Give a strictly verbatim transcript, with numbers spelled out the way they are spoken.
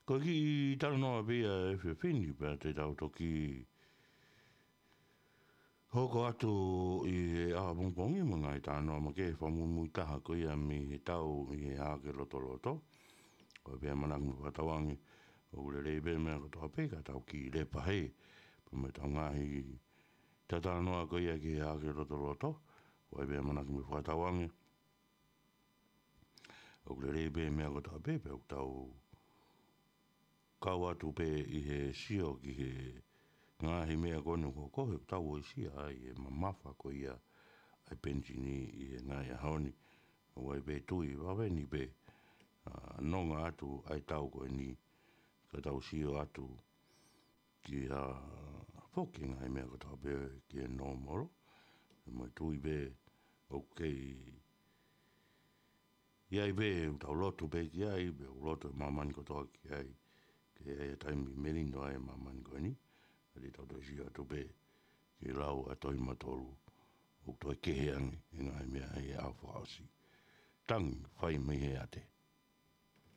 Ko e kiʻi talanoa pē ia ʻa e efiafi ni pea te tau toki hoko atu ʻi he ʻaho pongipongi mo e ngaahi talanoa makehe, fakamuimui taha ko ia mei he tau ʻi he Hahake Lotoloto. Ko e pē ʻamanaki mo e fakatauange ʻoku lelei pē meʻa kotoa pē ka tau kiʻi lepa hē pea mo ʻetau ngaahi talanoa ko ia ki he Hahake Lotoloto. Ko e pē ʻamanaki mo e fakatauange ʻoku lelei pē meʻa kotoa pē pea ʻoku tau kau atu pē ʻi he sio ki he ngaahi meʻa ko eni ʻoku hoko he ʻoku tau uesia ai e mamafa ko ia ʻa e penisini ʻi he ngaahi ʻaho ni. ʻOku ʻi ai pē tui vave ni pē ʻa e nonga atu ʻa e tau ko eni ka tau sio atu ki ha foki e ngaahi meʻa kotoa pē ki he nōmolo. Mo e tui pē ʻoku kei ʻi ai pē ʻoku tau lotu pē ki ai, pea ʻoku lotu e māmani kotoa ki ai. Ke ʻi ai e taimi melino ai e māmani ko eni. ʻA ia te tau toe sio atu pē ki he lau ʻa e tohi Matolu ʻoku toe kehe ange e ngaahi meʻa ʻi he ʻaho fakaʻosi. Tangi, fai mei he ate.